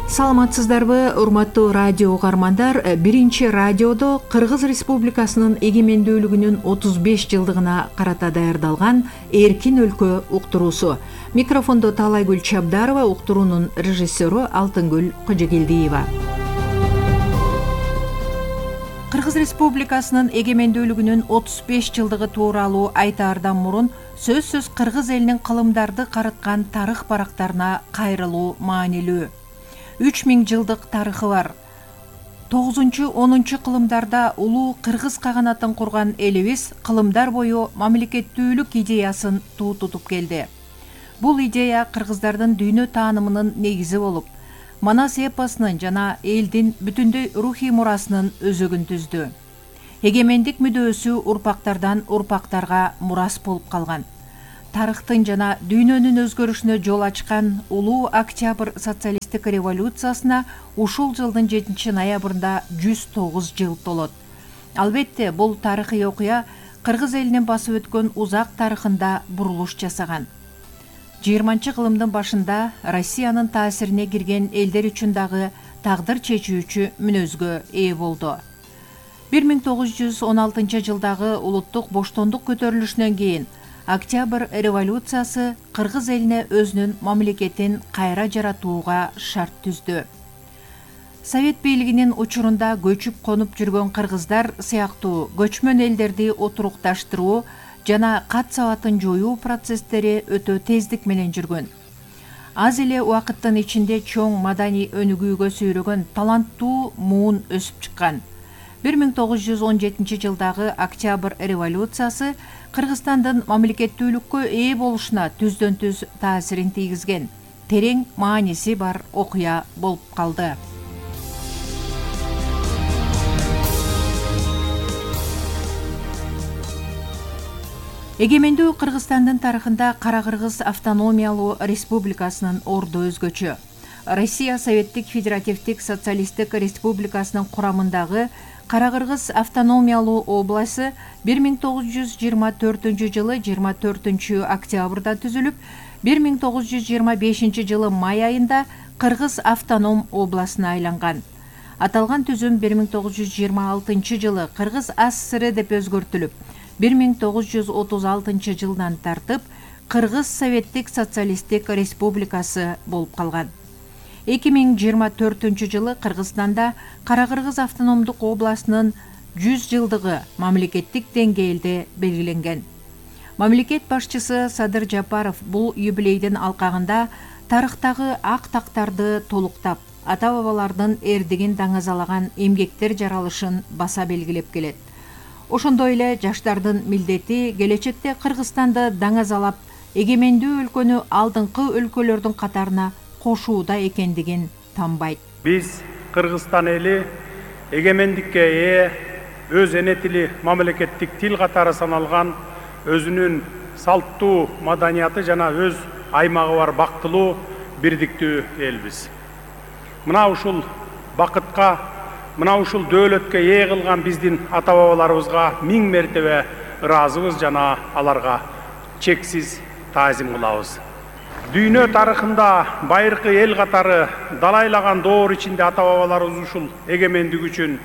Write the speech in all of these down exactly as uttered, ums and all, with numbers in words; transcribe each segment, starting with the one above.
Саламатсыздарбы, урматтуу радио угармандар. Биринчи радиодо Кыргыз Республикасынын эгемендүүлүгүнүн отуз беш жылдыгына карата даярдалган Эркин өлкө уктуруусу. Микрофондо Таалайгүл Чабдарова, уктуруунун режиссеру Алтынгүл Кожогелдиева. Кыргыз Республикасынын эгемендүүлүгүнүн отуз беш жылдыгы тууралуу айтаардан мурун сөзсүз кыргыз элинин кылымдарды карыткан тарых барактарына кайрылуу маанилүү. үч миң жылдык тарыхы бар. тогузунчу онунчу кылымдарда улуу кыргыз каганатын курган элибиз кылымдар бою мамлекеттүүлүк идеясын туу тутуп келди. Бул идея кыргыздардын дүйнө таанымынын негизи болуп, Манас эпосунун жана элдин бүтүндөй рухий мурасынын өзөгүн түздү. Эгемендик мүдөөсү урпактардан урпактарга мурас болуп калган. Тарыхтын жана дүйнөнүн өзгөрүшүнө жол ачкан улуу Октябрь социалисттик революциясына ушул жылдын жетинчи ноябрында жүз тогуз жыл толот. Албетте, бул тарыхый окуя кыргыз элинин басып өткөн узак тарыхында бурулуш жасаган. жыйырманчы кылымдын башында Россиянын таасирине кирген элдер үчүн дагы тагдыр чечүүчү мүнөзгө ээ болду. бир миң тогуз жүз он алтынчы жылдагы улуттук боштондук көтөрүлүшүнөн кийин Октябрь революциясы кыргыз элине өзүнүн мамлекетин кайра жаратууга шарт түздү. Совет бийлигинин учурунда көчүп конуп жүргөн кыргыздар сыяктуу көчмөн элдерди отурукташтыруу жана кат сабатын жоюу процесстери өтө тездик менен жүргөн. Аз эле убакыттын ичинде чоң маданий өнүгүүгө сүйрөгөн таланттуу муун өсүп чыккан. бир миң тогуз жүз он жетинчи жылдагы Октябрь революциясы Кыргызстандын мамлекеттүүлүккө ээ болушуна түздөн түз таасирин тийгизген, терең мааниси бар окуя болуп калды. Эгемендүү Кыргызстандын тарыхында Кара-Кыргыз автономиялуу республикасынын орду өзгөчө. Россия Советтик Федеративдик Социалисттик Республикасынын курамындагы Кара-Кыргыз автономиялуу областы бир миң тогуз жүз жыйырма төртүнчү жылы жыйырма төртүнчү октябрда түзүлүп, бир миң тогуз жүз жыйырма бешинчи жылы май айында Кыргыз автоном областына айланган. Аталган түзүм бир миң тогуз жүз жыйырма алтынчы жылы Кыргыз АССР деп өзгөртүлүп, бир миң тогуз жүз отуз алтынчы жылдан тартып Кыргыз Советтик Социалисттик Республикасы болуп калган. эки миң жыйырма төртүнчү жылы Кыргызстанда Кара-Кыргыз автономдук областынын жүз жылдыгы мамлекеттик деңгээлде белгиленген. Мамлекет башчысы Садыр Жапаров бул юбилейдин алкагында тарыхтагы ак тактарды толуктап, ата-бабалардын эрдигин даңазалаган эмгектер жаралышын баса белгилеп келет. Ошондой эле жаштардын милдети келечекте Кыргызстанды даңазалап, эгемендүү өлкөнү алдыңкы өлкөлөрдүн катарына кошууда экендигин танбайт. Биз Кыргызстан эли эгемендикке ээ, өз эне тили мамлекеттик тил катары саналган өзүнүн салттуу маданияты жана өз аймагы бар бактылуу бирдиктүү элбиз. Мына ушул бакытка, мына ушул дөөлөткө ээ кылган биздин ата-бабаларыбызга миң мертебе ыраазыбыз жана аларга чексиз таазим кылабыз. Дүйнө тарыхында байыркы эл катары далайлаган доор ичинде ата-бабаларыбыз ушул эгемендик үчүн,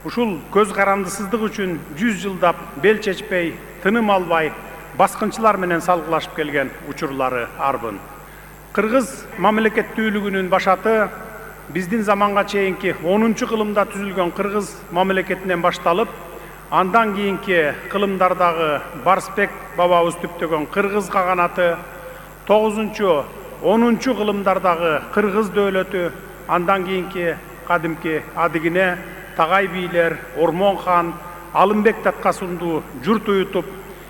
ушул көз карандысыздык үчүн жүз жылдап бел чечпей, тыным албай, баскынчылар менен салгылашып келген учурлары арбын. Кыргыз мамлекеттүүлүгүнүн башаты биздин заманга чейинки онунчу кылымда түзүлгөн Кыргыз мамлекетинен башталып, андан кийинки кылымдардагы Барсбек бабабыз түптөгөн Кыргыз каганаты, тогузунчу онунчу кылымдардагы Кыргыз дөөлөтү, андан кийинки кадимки адыгине, тагай бийлер, Ормон хан, Алымбек Таткасундуу журт уютуп,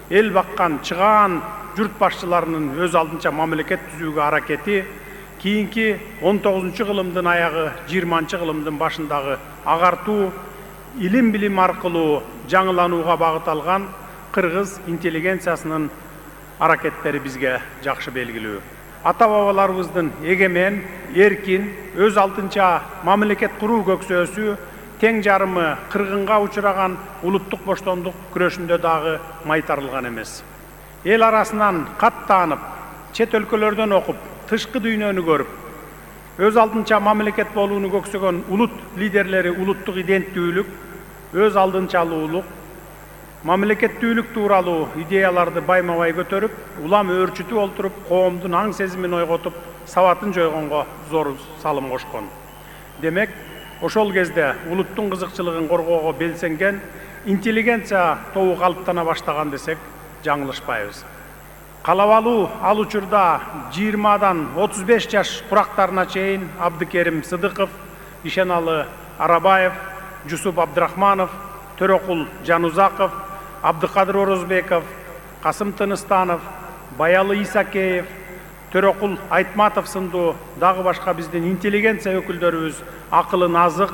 эл баккан чыгаан журт башчыларынын өз алдынча мамлекет түзүүгө аракети, кийинки он тогузунчу кылымдын аягы, жыйырманчы кылымдын башындагы агартуу, илим билим аркылуу жаңыланууга багыт алган Кыргыз интеллигенциясынын аракеттери бизге жакшы белгилүү. Ата-бабаларыбыздын эгемен, эркин, өз алдынча мамлекет куруу көксөөсү тең жарымы кыргынга учураган улуттук боштондук күрөшүндө дагы майтарылган эмес. Эл арасынан кат таанып, чет өлкөлөрдөн окуп, тышкы дүйнөнү көрүп, өз алдынча мамлекет болууну көксөгөн улут лидерлери улуттук иденттүүлүк, өз алдынчалуулук, мамлекеттүүлүк тууралуу идеяларды байма-бай көтөрүп, улам өөрчүтүп олтуруп, коомдун аң сезимин ойготуп, сабатын жойгонго зор салым кошкон. Демек, ошол кезде улуттун кызыкчылыгын коргоого белсенген интеллигенция тобу калыптана баштаган десек жаңылышпайбыз. Калабалуу ал учурда жыйырмадан отуз беш жаш курактарына чейин Абдыкерим Сыдыков, Ишеналы Арабаев, Жусуп Абдрахманов, Төрөкул Жанузаков, Абдыкадыр Орозбеков, Касым Тыныстанов, Баялы Исакеев, Төрөкул Айтматов сындуу дагы башка биздин интеллигенция өкүлдөрүбүз акылын азык,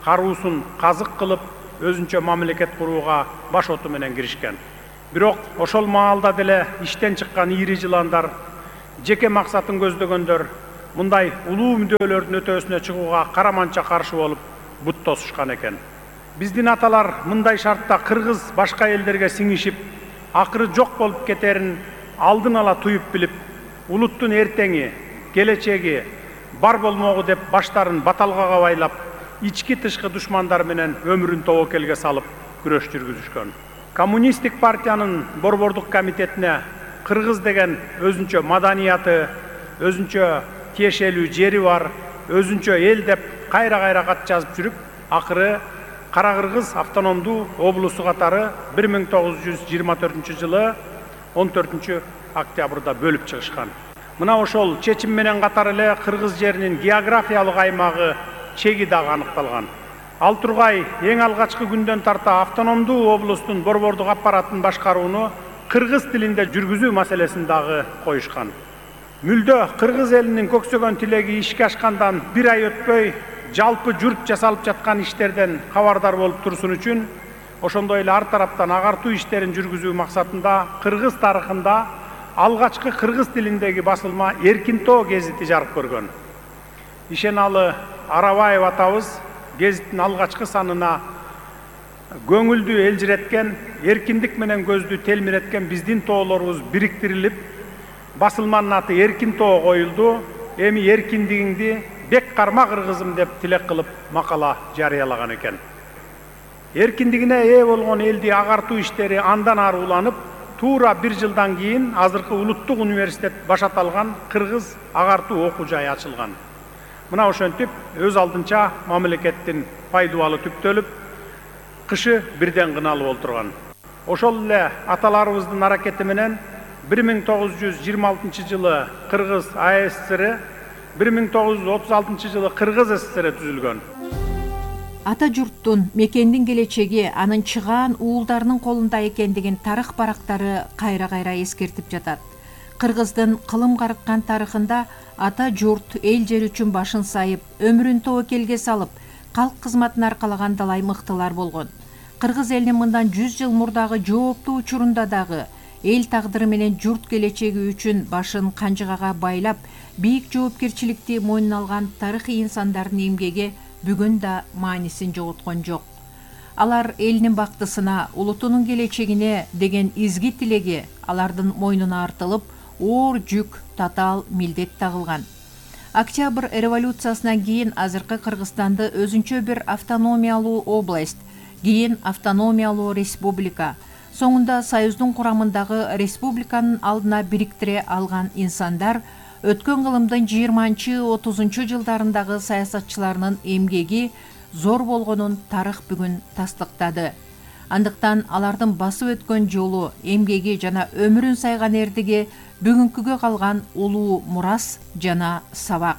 каруусун казык кылып, өзүнчө мамлекет курууга баш оту менен киришкен. Бирок ошол маалда деле иштен чыккан ири жыландар, жеке максатын көздөгөндөр мындай улуу мүдөлөрдүн өтөөсүнө чыгууга караманча каршы болуп бут тосушкан экен. Биздин аталар мындай шартта кыргыз башка элдерге сиңишип, акыры жок болуп кетерин алдын ала туюп билип, улуттун эртеңи, келечеги бар болмогу деп баштарын баталгага байлап, ички тышкы душмандар менен өмүрүн тобокелге салып күрөш жүргүзүшкөн. Коммунисттик партиянын борбордук комитетине кыргыз деген өзүнчө маданияты, өзүнчө тиешелүү жери бар, өзүнчө эл деп кайра-кайра кат жазып жүрүп, акыры Кара Кыргыз автономдуу облусу катары бир миң тогуз жүз жыйырма төртүнчү жылы он төртүнчү октябрда бөлүп чыгышкан. Мына ошол чечим менен катар эле кыргыз жеринин географиялык аймагы чеги дагы аныкталган. Ал тургай эң алгачкы күндөн тарта автономдуу облустун борбордук аппаратын башкарууну кыргыз тилинде жүргүзүү маселесин дагы коюшкан. Мүлдө кыргыз элинин көксөгөн тилеги ишке ашкандан бир ай өтпөй жалпы журт жасалып жаткан иштерден кабардар болуп турсун үчүн, ошондой эле ар тараптан агартуу иштерин жүргүзүү максатында кыргыз тарыхында алгачкы кыргыз тилиндеги басылма Эркин тоо гезити жарык көргөн. Ишеналы Арабаев атабыз гезиттин алгачкы санына көңүлдү элжиреткен, эркиндик менен көздү телмиреткен биздин тоолорубуз бириктирилип, басылманын аты Эркин тоо коюлду. Эми эркиндигиңди бек карма кыргызым деп тилек кылып макала жарыялаган экен. Эркиндигине ээ болгон элди агартуу иштери андан ары уланып, туура бир жылдан кийин азыркы улуттук университет баш аталган кыргыз агартуу окуу жайы ачылган. Мына ошентип өз алдынча мамлекеттин пайдубалы түптөлүп, кышы бирден кыналып олтурган. Ошол эле аталарыбыздын аракети менен бир миң тогуз жүз жыйырма алтынчы жылы Кыргыз А С С Р, бир миң тогуз жүз отуз алтынчы жылы Кыргыз С С Р түзүлгөн. Ата журттун, мекендин келечеги анын чыгаан уулдарынын колунда экендигин тарых барактары кайра-кайра эскертип жатат. Кыргыздын кылым карыккан тарыхында ата журт эл жер үчүн башын сайып, өмүрүн тобокелге салып, калк кызматын аркалаган далай мыктылар болгон. Кыргыз элинин мындан жүз жыл мурдагы жооптуу учурунда дагы эл тагдыры менен журт келечеги үчүн башын канжыгага байлап, бийик жоопкерчиликти мойнуна алган тарыхый инсандардын эмгеги бүгүн да маанисин жоготкон жок. Алар элинин бактысына, улутунун келечегине деген изги тилеги алардын мойнуна артылып, оор жүк, татаал милдет тагылган. Октябрь революциясынан кийин азыркы Кыргызстанды өзүнчө бир автономиялуу область, кийин автономиялуу республика, соңунда Союздун курамындагы республиканын алдына бириктире алган инсандар өткөн кылымдын жыйырманчы отузунчу жылдарындагы саясатчыларынын эмгеги зор болгонун тарых бүгүн тастыктады. Андыктан алардын басып өткөн жолу, эмгеги жана өмүрүн сайган эрдиги бүгүнкүгө калган улуу мурас жана сабак.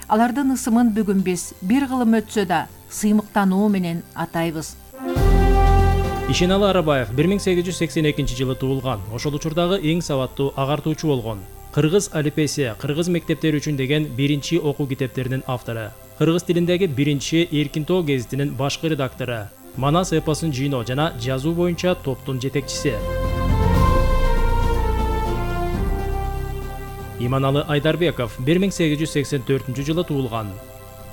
Алардын ысымын бүгүн биз бир кылым өтсө да сыймыктануу менен атайбыз. Ишеналы Арабаев бир миң сегиз жүз сексен экинчи жылы туулган. Ошол учурдагы эң сабаттуу агартуучу болгон. Кыргыз алифбеси, кыргыз мектептери үчүн деген биринчи окуу китептеринин автору. Кыргыз тилиндеги биринчи Эркин тоо гезитинин башкы редактору. Манас эпосун жыйноо жана жазуу боюнча топтун жетекчиси. Иманалы Айдарбеков бир миң сегиз жүз сексен төртүнчү жылы туулган.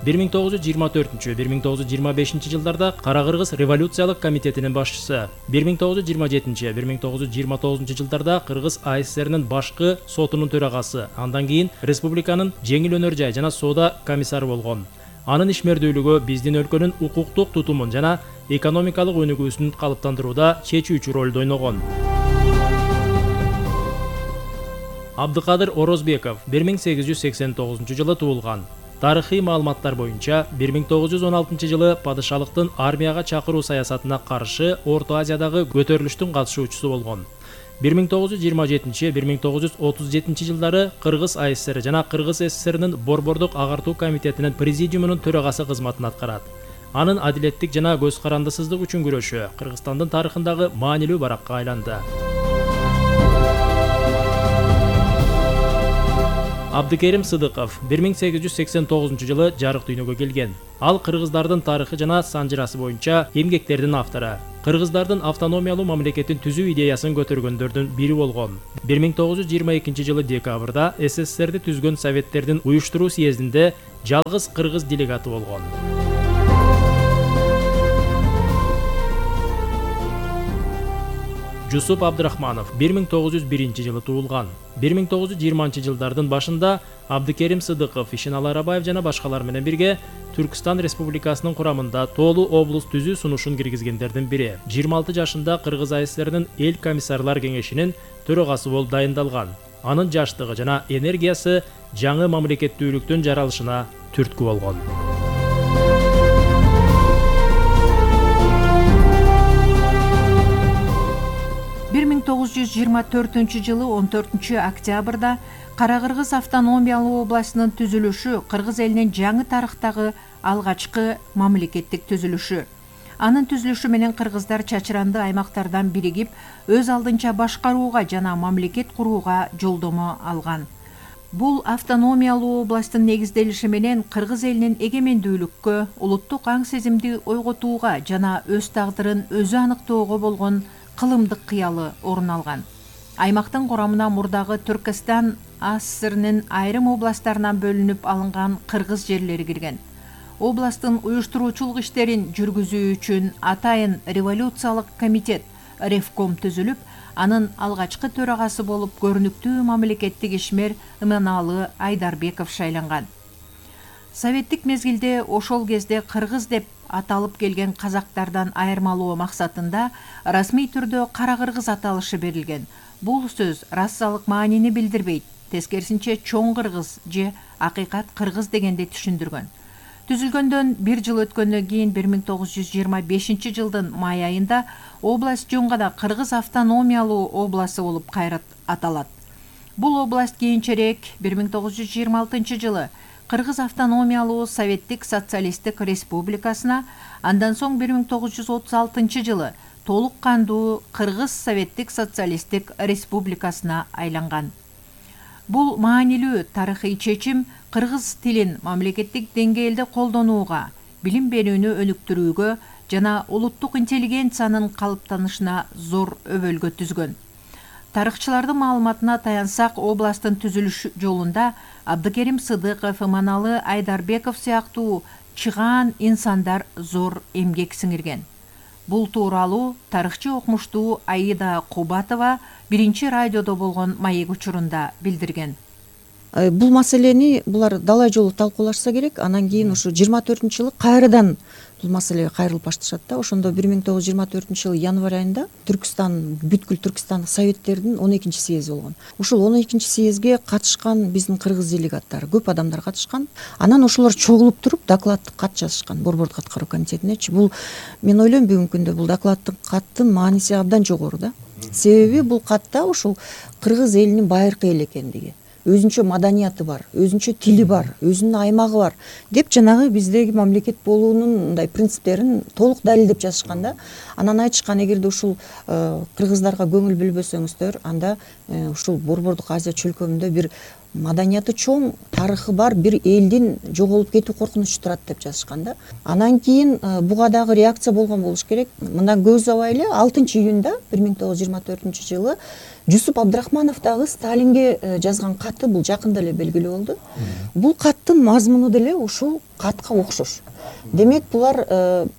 бир миң тогуз жүз жыйырма төртүнчү — бир миң тогуз жүз жыйырма бешинчи жылдарда Кара Кыргыз революциялык комитетинин башчысы, бир миң тогуз жүз жыйырма жетинчи — бир миң тогуз жүз жыйырма тогузунчу жылдарда Кыргыз А С Рнин башкы сотунун төрагасы, андан кийин республиканын жеңил өнөр жай жана соода комиссары болгон. Анын ишмердүүлүгү биздин өлкөнүн укуктук тутумун жана экономикалык өнүгүүсүн калыптандырууда чечүүчү ролду ойногон. Абдыкадыр Орозбеков бир миң сегиз жүз сексен тогузунчу жылы туулган. Тарыхый маалыматтар боюнча бир миң тогуз жүз он алтынчы жылы падышалыктын армияга чакыруу саясатына каршы Орто Азиядагы көтөрүлүштүн катышуучусу болгон. бир миң тогуз жүз жыйырма жетинчи — бир миң тогуз жүз отуз жетинчи жылдары Кыргыз А С Р жана Кыргыз С С Рнин Борбордук агартуу комитетинин президиумунун төрагасы кызматын аткарат. Анын адилеттик жана көз карандысыздык үчүн күрөшү Кыргызстандын тарыхындагы маанилүү баракка айланды. Абдыкерим Сыдыков бир миң сегиз жүз сексен тогузунчу жылы жарык дүйнөгө келген. Ал кыргыздардын тарыхы жана санжырасы боюнча эмгектердин автору. Кыргыздардын автономиялуу мамлекетин түзүү идеясын көтөргөндөрдүн бири болгон. бир миң тогуз жүз жыйырма экинчи жылы декабрда С С Рди түзгөн Советтердин уюштуруу съездинде жалгыз кыргыз делегаты болгон. Жусуп Абдрахманов бир миң тогуз жүз биринчи жылы туулган. бир миң тогуз жүз жыйырманчы жылдардын башында Абдыкерим Сыдыков, Ишеналы Арабаев жана башкалар менен бирге Түркстан Республикасынын курамында Тоолу облус түзүү сунушун киргизгендердин бири. жыйырма алты жашында Кыргыз А С Рнин эл комиссарлар кеңешинин төрагасы болуп дайындалган. Анын жаштыгы жана энергиясы жаңы мамлекеттүүлүктүн жаралышына түрткү болгон. бир миң тогуз жүз жыйырма төртүнчү жылы он төртүнчү октябрда Кара Кыргыз автономиялуу областынын түзүлүшү кыргыз элинин жаңы тарыхтагы алгачкы мамлекеттик түзүлүшү. Анын түзүлүшү менен кыргыздар чачыранды аймактардан биригип, өз алдынча башкарууга жана мамлекет курууга жолдомо алган. Бул автономиялуу областтын негизделиши менен кыргыз элинин эгемендүүлүккө, улуттук аң сезимди ойготууга жана өз тагдырын өзү аныктоого болгон кылымдык кыялы орун алган. Аймактын курамына мурдагы Түркстан А С С Рнин айрым областтарынан бөлүнүп алынган кыргыз жерлери кирген. Областтын уюштуруучулук иштерин жүргүзүү үчүн атайын революциялык комитет Ревком түзүлүп, анын алгачкы төрагасы болуп көрүнүктүү мамлекеттик ишмер Иманалы Айдарбеков шайланган. Советтик мезгилде ошол кезде кыргыз деп аталып келген казактардан айырмалоо максатында расмий түрдө Кара Кыргыз аталышы берилген. Бул сөз расалык маанини билдирбейт, тескерисинче чоң кыргыз же акыйкат кыргыз дегенди түшүндүргөн. Түзүлгөндөн бир жыл өткөндөн кийин бир миң тогуз жүз жыйырма бешинчи жылдын май айында область жөн гана Кыргыз автономиялуу обласы болуп кайра аталат. Бул область кийинчерээк бир миң тогуз жүз жыйырма алтынчы жылы Кыргыз автономиялуу Советтик социалисттик республикасына, андан соң бир миң тогуз жүз отуз алтынчы жылы толук кандуу Кыргыз Советтик социалисттик республикасына айланган. Бул маанилүү тарыхый чечим кыргыз тилин мамлекеттик деңгээлде колдонууга, билим берүүнү өнүктүрүүгө жана улуттук интеллигенциянын калыптанышына зор өбөлгө түзгөн. Тарыхчылардын маалыматына таянсак, областтын түзүлүш жолунда Абдыкерим Сыдыков, Иманалы Айдарбеков сыяктуу чыгаан инсандар зор эмгек сиңирген. Бул тууралуу тарыхчы окумуштуу Аида Кубатова биринчи радиодо болгон маек учурунда билдирген. Бул маселени булар далай жолу талкуулашса керек, анан кийин ушу жыйырма төртүнчү жылы кайрадан бул маселеге кайрылып башташат да. Ошондо бир миң тогуз жүз жыйырма төртүнчү жылы январь айында Түркстан, бүткүл Түркстандык советтердин он экинчи съези болгон. Ушул он экинчи съезге катышкан биздин кыргыз делегаттары, көп адамдар катышкан. Анан ошолор чогулуп туруп докладдык кат жазышкан Борбордук аткаруу комитетинечи. Бул мен ойлойм бүгүнкү күндө бул докладдык каттын мааниси абдан жогору да. Себеби бул катта ушул кыргыз элинин байыркы эл экендиги, өзүнчө маданияты бар, өзүнчө тили бар, өзүнүн аймагы бар деп жанагы биздеги мамлекет болуунун мындай принциптерин толук далилдеп жазышкан да. Анан айтышкан, эгерде ушул кыргыздарга көңүл бөлбөсөңүздөр, анда ушул Борбордук Азия чөлкөмүндө бир маданияты чоң, тарыхы бар бир элдин жоголуп кетүү коркунучу турат деп жазышкан да. Анан кийин буга дагы реакция болгон болуш керек. Мындан көп убай эле алтынчы июнда бир миң тогуз жүз жыйырма төртүнчү жылы Жусуп Абдрахманов дагы Сталинге жазган каты бул жакында эле белгилүү болду. Бул каттын мазмуну деле ушул катка окшош. Демек булар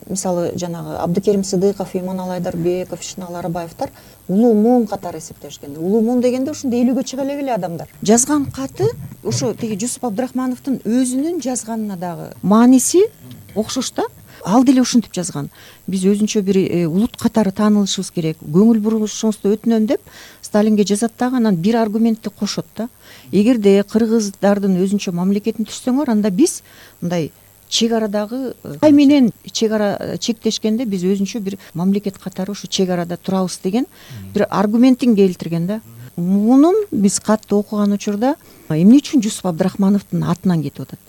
мисалы жанагы Абдыкерим Сыдыков, Иманалы Айдарбеков, Ишеналы Арабаевтар улуу муун катары эсептешкен. Улуу муун дегенде ушундай элүүгө чыга эле адамдар. Жазган каты ошо тиги Жусуп Абдрахмановдун өзүнүн жазганына дагы мааниси окшош да. Ал деле ушинтип жазган. Биз өзүнчө бир улут катары таанылышыбыз керек. Көңүл бурушуңузду өтүнөм деп Сталинге жазат дагы, анан бир аргументти кошот да. Эгерде кыргыздардын өзүнчө мамлекетин түзсөңөр, анда биз мындай чек арадагы Кытай менен чек ара чектешкенде биз өзүнчө бир мамлекет катары ушу чек арада турабыз деген бир аргументин келтирген да. Мунун биз катты окуган учурда эмне үчүн Жусуп Абдрахмановдун атынан кетип атат?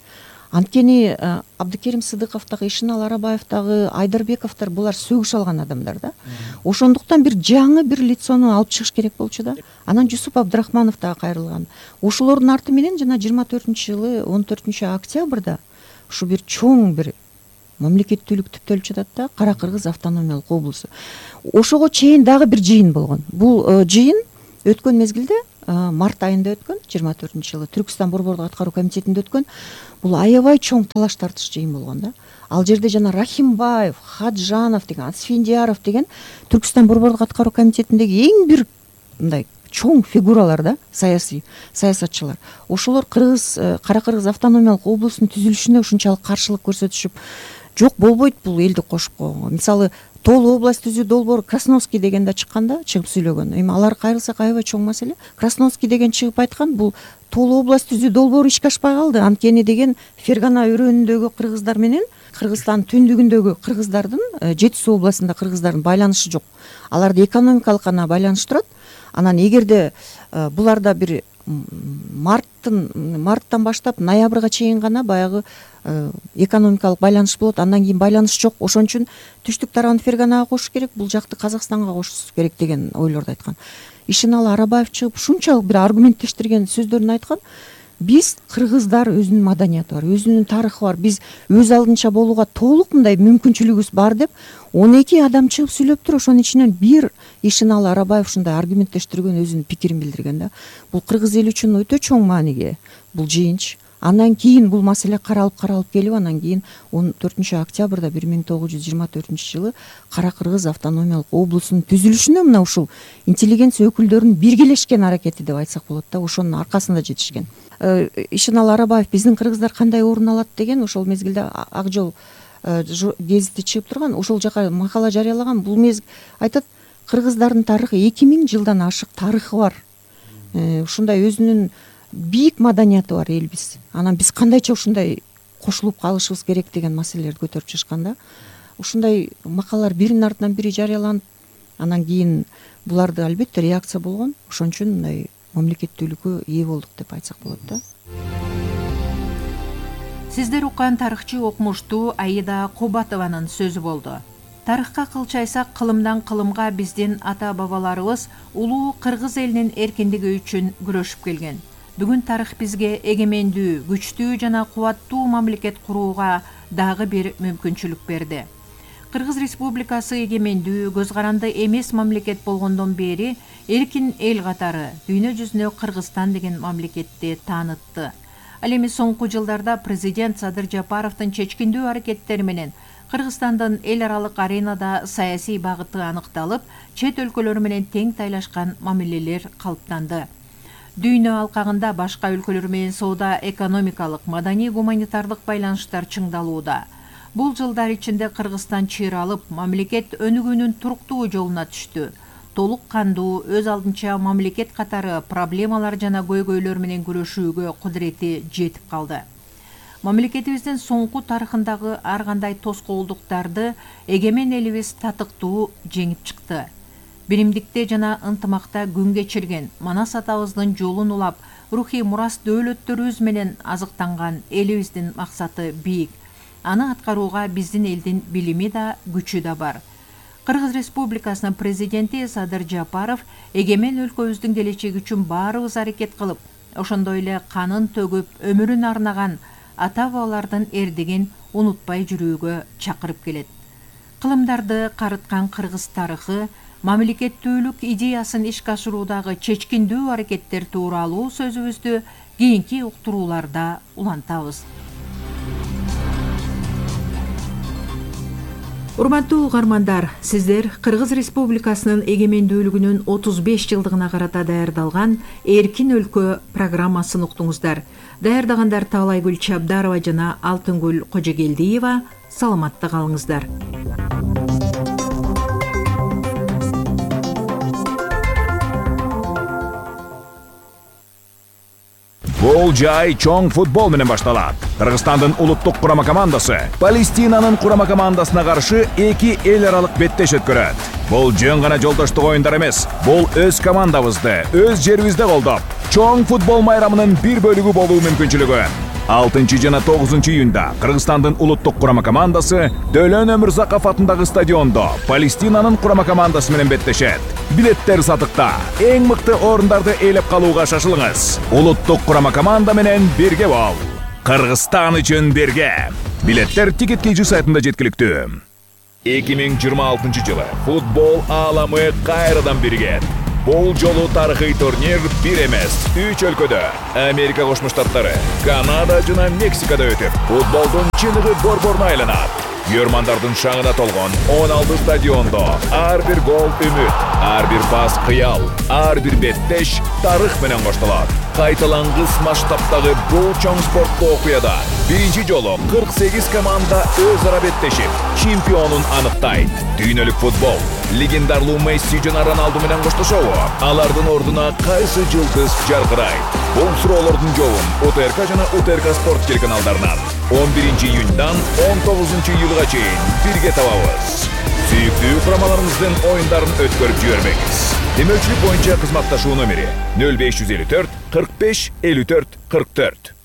Анткени Абдыкерим Сыдыков дагы, Ишеналы Арабаев дагы, Айдарбековдор булар сөгүш алган адамдар да. Ошондуктан бир жаңы бир лицону алып чыгыш керек болчу да. Анан Жусуп Абдрахманов дагы кайрылган. Ошолордун арты менен жана жыйырма төртүнчү жылы он төртүнчү октябрда ушу бир чоң бир мамлекеттүүлүк түптөлүп жатат да, Кара Кыргыз автономиялык облусу. Ошого чейин дагы бир жыйын болгон. Бул жыйын өткөн мезгилде март айында өткөн, жыйырма төртүнчү жылы Түркстан Борбордук аткаруу комитетинде өткөн. Бул аябай чоң талаш тартыш жыйын болгон да. Ал жерде жана Рахимбаев, Хаджанов деген, Асфендияров деген Түркстан Борбордук аткаруу комитетиндеги эң бир мындай чоң фигуралар да, саясий саясатчылар. Ошолор Кыргыз Кара Кыргыз автономиялык облусунун түзүлүшүнө ушунчалык каршылык көрсөтүшүп, жок болбойт бул элди кошуп койгонго. Мисалы Толуу область түзүү долбоор Красновский деген да чыкканда, чыгып сүйлөгөн. Эми алар кайрылсак аябай чоң маселе. Красновский деген чыгып айткан, бул Толуу область түзүү долбоору ишке ашпай калды. Анткени деген Фергана өрөөнүндөгү кыргыздар менен Кыргызстан түндүгүндөгү кыргыздардын, Жети суу областында кыргыздардын байланышы жок. Аларды экономикалык гана байланыштырат. Анан эгерде буларда бир марттын марттан баштап ноябрга чейин гана баягы экономикалык байланыш болот, андан кийин байланыш жок. Ошон үчүн түштүк тарабын Ферганага кошуш керек, бул жакты Казакстанга кошуш керек деген ойлорду айткан. Ишеналы Арабаев чыгып ушунчалык бир аргументтештирген сөздөрүн айткан. Биз кыргыздар өзүнүн маданияты бар, өзүнүн тарыхы бар. Биз өз алдынча болууга толук мындай мүмкүнчүлүгүбүз бар деп он эки адам чыгып сүйлөп тур. Ошонун ичинен бир Ишеналы Арабаев ушундай аргументтештирген, өзүнүн пикирин билдирген да. Бул кыргыз эли үчүн өтө чоң мааниге бул жыйынч. Андан кийин бул маселе каралып каралып келип, анан кийин он төртүнчү октябрда бир миң тогуз жүз жыйырма төртүнчү жылы Кара Кыргыз автономиялык облусунун түзүлүшүнө мына ушул интеллигенция өкүлдөрүнүн биргелешкен аракети деп айтсак болот да, ошонун аркасында жетишкен. Ишеналы Арабаев биздин кыргыздар кандай орун алат деген ошол мезгилде Ак жол гезити чыгып турган, ошол жака макала жарыялаган. Бул мезгил айтат, кыргыздардын тарыхы эки миң жылдан ашык тарыхы бар. Ушундай өзүнүн бийик маданияты бар элбиз. Анан биз кандайча ушундай кошулуп калышыбыз керек деген маселелерди көтөрүп чыгышкан да. Ушундай макалалар биринин артынан бири жарыяланып, анан кийин буларды албетте реакция болгон. Ошон үчүн мындай мамлекеттүүлүккө ээ болдук деп айтсак болот да. Сиздер уккан тарыхчы окумуштуу Аида Кубатованын сөзү болду. Тарыхка кылчайсак, кылымдан кылымга биздин ата-бабаларыбыз улуу кыргыз элинин эркиндиги үчүн күрөшүп келген. Бүгүн тарых бизге эгемендүү, күчтүү жана кубаттуу мамлекет курууга дагы бир мүмкүнчүлүк берди. Кыргыз Республикасы эгемендүү, көз каранды эмес мамлекет болгондон бери эркин эл катары дүйнө жүзүнө Кыргызстан деген мамлекетти таанытты. Ал эми соңку жылдарда президент Садыр Жапаровдун чечкиндүү аракеттери менен Кыргызстандын эл аралык аренада саясий багыты аныкталып, чет өлкөлөр менен тең тайлашкан мамилелер калыптанды. Дүйнө алкагында башка өлкөлөр менен соода, экономикалык, маданий, гуманитардык байланыштар чыңдалууда. Бул жылдар ичинде Кыргызстан чыйралып, мамлекет өнүгүүнүн туруктуу жолуна түштү. Толук кандуу, өз алдынча мамлекет катары проблемалар жана көйгөйлөр менен күрөшүүгө кудурети жетип калды. Мамлекетибиздин соңку тарыхындагы ар кандай тоскоолдуктарды эгемен элибиз татыктуу жеңип чыкты. Биримдикте жана ынтымакта күн кечирген, Манас атабыздын жолун улап, рухий мурас дөөлөттөрүбүз менен азыктанган элибиздин максаты бийик. Аны аткарууга биздин элдин билими да, күчү да бар. Кыргыз Республикасынын президенти Садыр Жапаров эгемен өлкөбүздүн келечеги үчүн баарыбыз аракет кылып, ошондой эле канын төгүп өмүрүн арнаган ата бабалардын эрдигин унутпай жүрүүгө чакырып келет. Кылымдарды карыткан кыргыз тарыхы, мамлекеттүүлүк идеясын ишке ашыруудагы чечкиндүү аракеттер тууралуу сөзүбүздү кийинки уктурууларда улантабыз. Урматтуу угармандар, сиздер Кыргыз Республикасынын эгемендүүлүгүнүн отуз беш жылдыгына карата даярдалган Эркин өлкө программасын уктуңуздар. Даярдагандар Таалайгүл Чабдарова жана Алтынгүл Кожогелдиева. Саламатта калыңыздар. Бул жай чоң футбол менен башталат. Кыргызстандын улуттук курама командасы Палестинанын курама командасына каршы эки эл аралык беттеш өткөрөт. Бул жөн гана жолдоштук оюндар эмес. Бул өз командабызды, өз жерибизде колдоп, чоң футбол майрамынын бир бөлүгү болуу мүмкүнчүлүгү. алтынчы жана тогузунчу июнда Кыргызстандын улуттук курама командасы Дөлөн Өмүрзаков атындагы стадиондо Палестинанын курама командасы менен беттешет. Билеттер сатыкта. Эң мыкты орундарды ээлеп калууга шашылыңыз. Улуттук курама команда менен бирге бол. Кыргызстан үчүн бирге. Билеттер Тикет кей джи сайтында жеткиликтүү. эки миң жыйырма алтынчы жылы футбол ааламы кайрадан биригет. Бул жолу тарыхый турнир бир эмес, үч өлкөдө, Америка Кошмо Штаттары, Канада жана Мексикада өтүп, футболдун чыныгы борборуна айланат. Көрмандардын шаңына толгон он алты стадиондо ар бир гол үмүт, ар бир пас кыял, ар бир беттеш тарых менен коштолот. Кайталангыс масштабтагы бул чоң спорттуу окуяда биринчи жолу кырк сегиз команда өз ара беттешип, чемпионун аныктайт. Дүйнөлүк футбол легендарлуу Месси жана Роналду менен коштошобу? Алардын ордуна кайсы жылдыз жаркырайт? Бул суроолордун жообун УТРК жана УТРК спорт телеканалдарынан он биринчи июндан он тогузунчу июлга чейин бирге табабыз. Сүйүктүү курамаларыңыздын оюндарын өткөрүп жибермеңиз. Демөөрчүлүк боюнча кызматташуу номери нөл беш жүз элүү төрт кырк беш элүү төрт кырк төрт.